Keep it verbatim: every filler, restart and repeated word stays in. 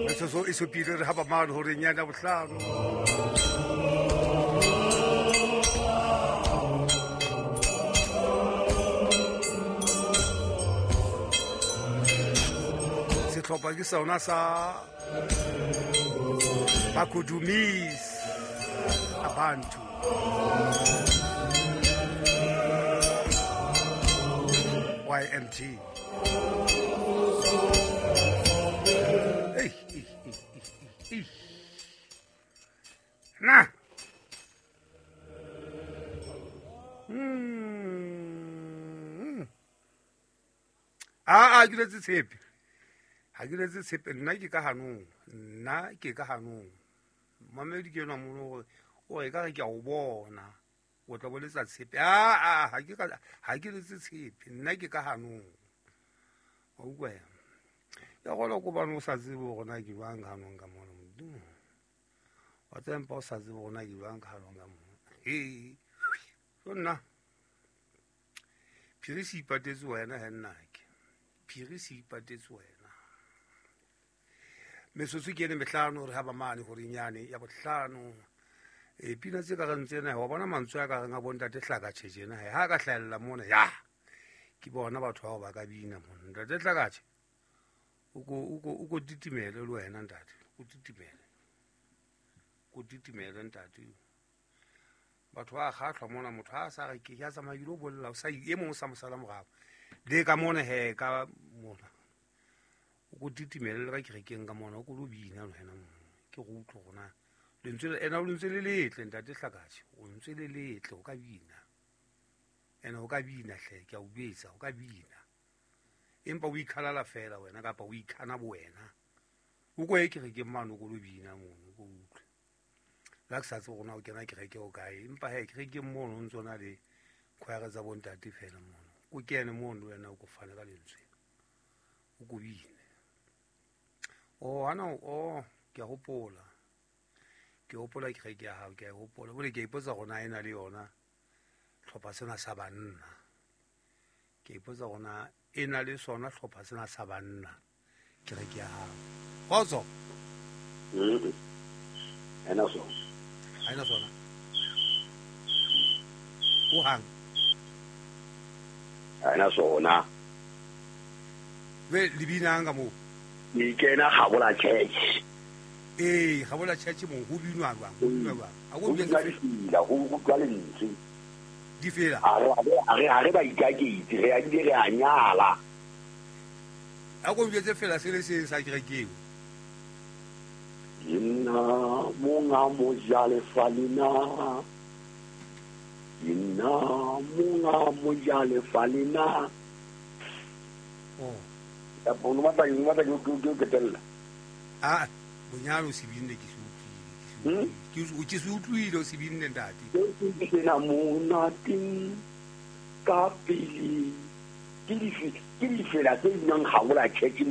Metsotso e supile re haba mane horeng ya bohlano. Sehlopha ke sona sa Bakudumis Abantu. Y M T. Hey, hey, hey, hey, hey. Na. Mm. Ah, ah, ke letse tshepe. Ha ke letse tshepe nna ke ka hanong. Nna ke ka hanong. Mamedi ke nwa mono hore o re ka re ke a o bona. O tla boletsa tshepe. Ah, ah, ha ke ka ha ke letse tshepe. Nna ke ka hanong. Wa utlwa ya. Ya gola ko bana o sa tsebe hore na ke jwang ka hanong ka mona Modimo. Wa tsempa o sa tsebe hore na ke jwang ka hanong ka mona. He. So nna. Phiri se ipatetse wena he nna ke. Phiri se ipatetse wena. Metsotso ke ene mehlano re haba mane horeng yane ya bohlano. E pina tse ka reng tsena wa bona mantswe a ka reng a bontate Hlakatjhe tjena he ha ka hlahella mona ya. Ke bona batho bao ba ka bina mona. Ntate Hlakatjhe. O ko o ko o ko titimele le wena ntate. O titimele. Ko titimele ntate. Batho ba kgahlwa mona motho ha sa re ke ya tsamaya ke lo bolla o sa e mong sa mosala morao. Le ka mona he ka mona. O ko titimele le ka kerekeng ka mona o ko lo bina le wena mona. Ke go utlwe gona. Lentswe ena o lentswe le letle ntate Hlakatjhe. O lentswe le letle o ka bina. Ena o ka bina hle ke a o betsa o ka bina. Empa o ikhalala fela wena kapa o ikhana bo wena. O ko ye kerekeng mane o ko lo bina mono o ko utlwe. La ke sa tsebe gona o kena kereke o kae empa he kerekeng mono o ntso na le choir tsa bontate fela mono. O kene mono wena o ko fane ka lentswe. O ko bine. Oh ana oh ke a hopola. Ke hopola kereke ya hao ke a hopola. Bole ke ipotsa gona ena le yona hlopha sena sa banna. Ke ipotsa gona e na le sona hlopha sena sa banna kereke ya hao. Kgotso. Mm. Ena sona. Ha ena sona. O hang. Ena sona. Be le binang ka moo. Ke kena Gabola Church. Eh, Gabola Church mo ho binwa jwang? Ho binwa jwang? A go binwa difela, ho utlwa lentswe. Difela. A re a re a re ba ikaketse, re a di re a nyala. A go bjetse fela se le se sa kerekeng. Ke nna monga mojalefa lena. Ke nna monga mojalefa lena. Oh. Ya bono batla eng batla ke ke ke tella. Ah, bonyane o se binne ke se utlwile. Ke se ke se utlwile o se binne ntate. Ke na monate ka pele. Ke dife ke difela tse binang Gabola Church mo.